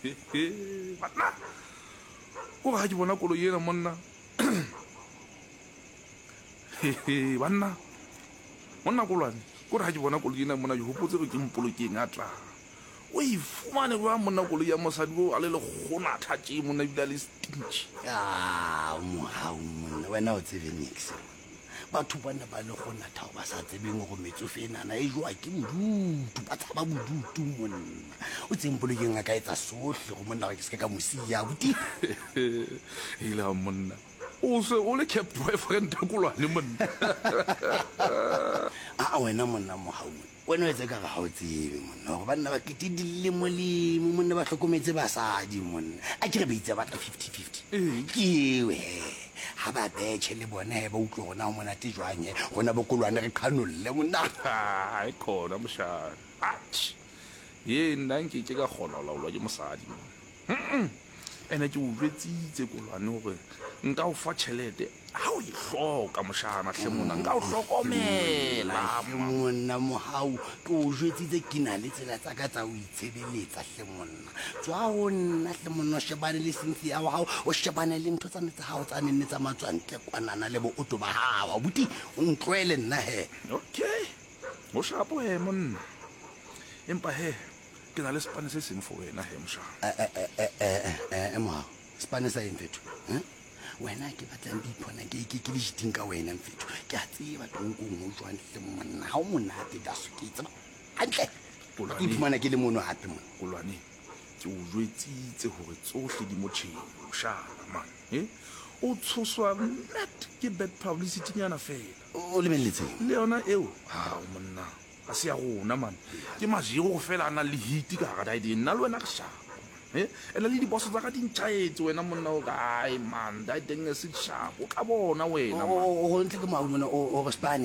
Banna, ko ga ke bona koloi ena monna. Banna, monna kolwane, ko re ga ke bona koloi ena monna ke gopotse gore ke mpolokeng a tla. O e fumane jwang monna koloi ya mosadi o a le lekgonatha tše monna ebile a le stingy. Ah, mohau monna, wena o tsebe nix. Batho bana ba le kgonatha ba sa tsebeng gore metsofe enana e jowa ke bodutu, ba tshaba bodutu monna. O tseng polokeng a ka etsa sohle go monna gore ke se ka mo siya abuti. Hela monna, o se o le cap boyfriend kolwane monna. A wena monna mohau monna. Wena o etsa ekare ga o tsebe monna gore banna ba kete dilemolemo monna ba hlokometse basadi monna. A ke re ba itse ba batla 50-50. Ee. Ke eo he. Ga ba betšhe le bone he ba utlwe gore na go monate jwang he. Rona bokolwane re qhanolle monna. Hai khona moshana. Atjhe. Ye nna nke ke ka kgona ho laolwa ke mosadi monna. Mm-mm. Ene ke o jwetsitse kolwane gore nka o fa tšhelete ga o e hloka mošana hle mona nka o hlokomela hle monna mogau ke o jwetsitse ke na le tsela tsa ka tsa o itshebeletsa hle monna tswa go nna hle monna o shebane le Cynthia wa gago o shebane le ntho tsane tsa gago tsa nenne tsa matswantle kwanana le booto ba gago abuti o ntloele nna he. Okay o shapo he monna empa he Ke na le sepane se seng for wena he mošana. Eh, eh, mogao sepane sa eng fetho? Eh? Wena ke batlang ke iphona ke ke ke le jiting ka wena mfetho. Ke a tseba tonkong ho jwang hle monna. Ha o monate daso ke tseba. Hantle. Ke iphumana ke le mono hape mona. Kolwane, ke o jwetsitse hore tsohle di motjheng moshana man. Eh? O tshoswa net ke bad publicity nyana fela. O lebelletseng? Le yona eo? Hao monna. Ga se ya rona man. Ke majego go fela a nang le heat ka gara daedeng. Nna le wena re sharp man. Eh? Ene le diboso tsa ka di ntšhaetse wena monna o kae man. Daedeng e se sharp. O tla bona wena man. O ntle ke mau mona o re spane.